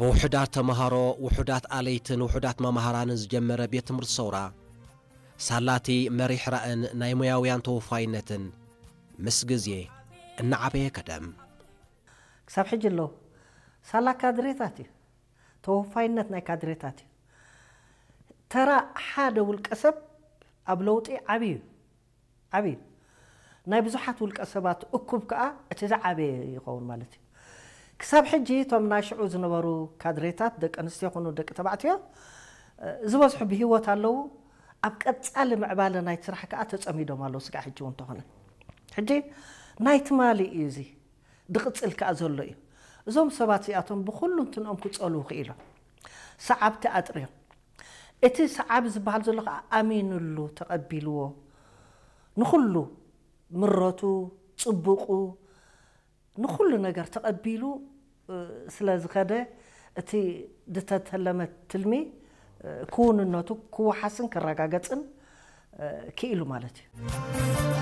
ብውሑዳት ተምሃሮ፣ ውሑዳት ኣለይትን ውሑዳት መማህራንን ዝጀመረ ቤት ትምህርቲ ሰውራ፣ ሳላቲ መሪሕ ራእን ናይ ሞያውያን ተወፋይነትን ምስ ግዜ እናዓበየ ከደ። ክሳብ ሕጂ ኣለዉ። ሳላ ካድሬታት እዩ። ተወፋይነት ናይ ካድሬታት እዩ። ተራ ሓደ ውልቀ ሰብ ኣብ ለውጢ ዓብዩ እዩ። ዓብዩ። ናይ ብዙሓት ውልቀ ሰባት እኩብ ከኣ እቲ ዝዓበየ ይኸውን ማለት እዩ። ክሳብ ሕጂ እቶም ናይ ሽዑ ዝነበሩ ካድሬታት፣ ደቂ ኣንስትዮ ይኹኑ ደቂ ተባዕትዮ፣ ዝበዝሑ ብህይወት ኣለዉ። ኣብ ቀጻሊ ምዕባለ ናይ ስራሕ ከኣ ተጸሚዶም ኣለዉ። ስጋዕ ሕጂ እውን እንተኾነ፣ ሕጂ ናይ ትማሊ እዩ፣ እዚ ድቕጽል ከኣ ዘሎ እዩ። እዞም ሰባት እዚኣቶም ብኹሉ እንትንኦም ክጸልዉ ክኢሎም፣ ሰዓብቲ ኣጥርዮም። እቲ ሰዓቢ ዝበሃል ዘሎ ከኣ ኣሚኑሉ ተቐቢልዎ፣ ንኹሉ ምረቱ፣ ጽቡቑ፣ ንኹሉ ነገር ተቐቢሉ ስለ ዝኸደ፣ እቲ ዝተተለመ ትልሚ ክውንነቱ ክወሓስን ክረጋገጽን ክኢሉ ማለት እዩ።